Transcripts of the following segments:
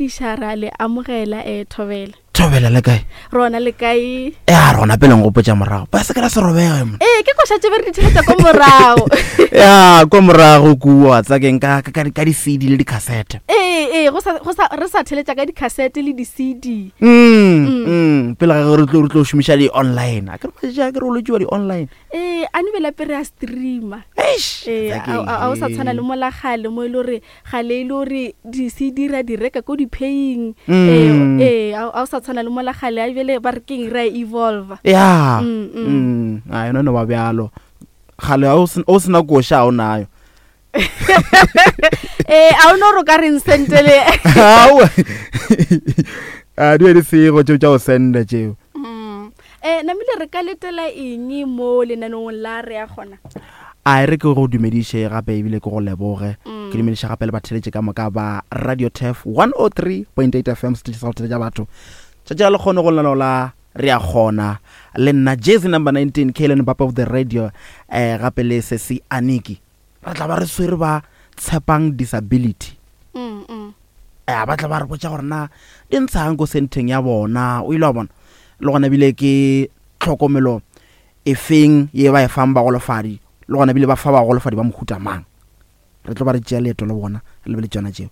dumediša ra le amogela um thobela thobela le kae rona le kae ya rona pele ngopotša morago ba se ke la se robege mo ee ke koša tše be re di theletša ko morago ya ko morago kua tsakeng ka ka ka di-cd le di-cassette ee ee go sa go sa re sa theletša ka di-cassette le di-cd mm, mm. pele ga ge re tlo re tlo šomiša di-online a ke re matšatši a ke re o lotšiwa di-online ee a nobela pere a streama Eish, ee Tsakeng, a o sa tshwana le ee. mola gale mo e le gore gale e le gore di-cd ra di reka ko di-paying Mm. ee a o sa tshwana le mola gale a bjale ba re keng re a evolva ya Mm, mm. Mm, a yona no ba bjalo gale a o sen- o sena koša a o nayo ee a o no re o ka reng sentele Aowa. a di be di sego tšeo tša go senda tšeo Mm. Eh, namile re ka letela eng mo lenaneong la re ya gona a e re ke go dumediše gape ebile ke go leboge ke dumediše gape le batheletše ka moka ba radio tef 103.8 fm setetše sa go theletša batho tšatši la lekgono go lenaneo la re a kgona le nna jersey number 19 kalen bapa of the radio eh gape le sesi aniki re tla ba re swere ba tshepang disability Mm, mm. eh ba tla ba re botša gore na di ntshang ko senteng ya bona o ile wa bona le gona bile ke tlhokomelo e feng ye ba e fang bagolofadi le gona bile ba fa bagolofadi ba mohuta mang re tlo ba re tšea leeto le bona re lebele tšona tšeo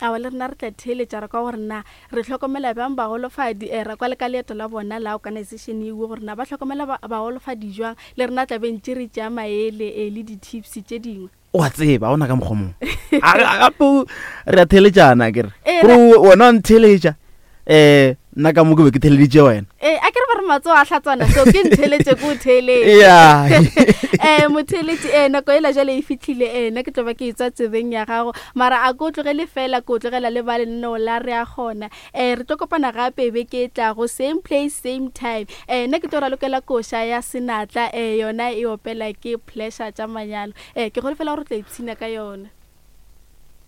awa le rena re tla theeletša re kwa gore na re hlokomela bjang bagolofadi um ra kwa le ka leeto la bona la organization eo gore na ba hlokomela bagolofadi jwang le rena tla be ntše re tšea maele um le di-tips tše dingwe o a tseba ona ka mokgwa mongwe gape re a theeletšana kere Ee, kore wena wa ntheeletša um nna ka mo ke be ke theeleditše wena ee a ke re ba re matsogo a hlatswana so ke ntheeletše ke o theeletše ya um motheeletše ee nako ela jale e fitlhile ee nna ke tlo ba ke e tswa tsebeng ya gago mara a ko tlogele fela ko tlogela le ba lenaneo la re a gona um re tlo kopana gape beke e tlago same place same time um nna ke tlo ralokela koša ya senatla um yona e opela ke pleasure tša manyalo um ke golofela gore o tla ipshina ka yona.